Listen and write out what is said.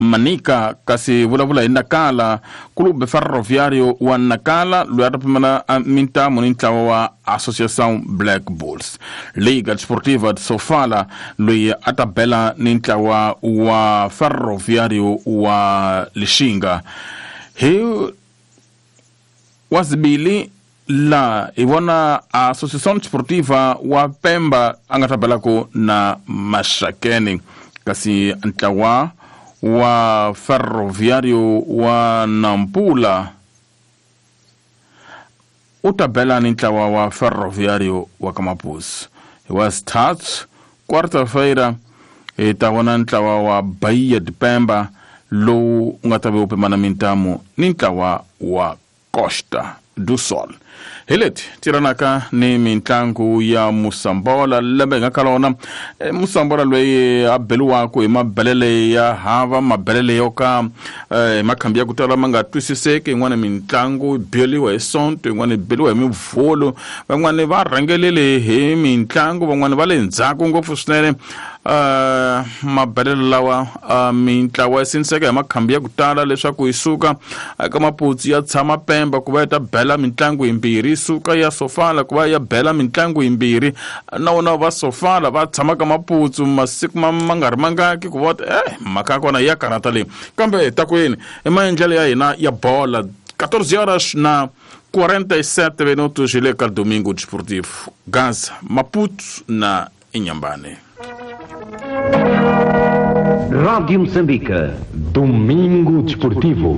Manica kasi vulavula hi Nacala, Clube Ferroviário wa Nacala loyi a ta pimela mintamu ni ntlawa wa Associação Black Bulls. Liga Desportiva de Sofala loyi a ta bela ni ntlawa wa Ferroviário wa Lixinga. Hi wazibili la hi vona Associação Desportiva wa Pemba a nga ta belaku na Maxakeni, kasi ntlawa wa Ferroviário wa Nampula u ta bela ni ntlawa wa Ferroviário wa Kamapusi. Hi wa sithathu, quarta-feira, hi ta vona ntlawa wa Bahia de Pemba lowu u nga ta ve u pimana mintamu ni ntlawa wa Costa do Sol. Hi leti tirhanaka ni mitlangu ya Musambola lembe hi nga ka lona. Musambola loyi a beliwaku hi mabelele ya hava, mabelele yo ka hi makhambi ya ku tala ma nga twisiseki. Yin'wana mitlangu yi beliwa hi Sonto, yin'wana yi beliwa hi Mivhulu, van'wani va rhangelele hi mitlangu, van'wani va le ndzhaku ngopfu swinene. Mabelelo lawa mintlawa yi sindziseka hi makhambi ya ku tala leswaku yi suka eka Maputsu ya tshama Pemba ku va yi ta bela mitlangu yimbirhi, yi suka ya Sofala ku va ya bela mitlangu yimbirhi, na wona va Sofala va tshama ka Maputsu masiku ma nga ri mangaki ku va mhaka ya kona ya karhata leyi. Kambe ta ku yini i maendlelo ya hina ya bola. 14 horas na 47 minutos hi le ka Domingo Desportivo, Gaza, Maputo na Inhambane. Rádio Moçambique. Domingo Desportivo.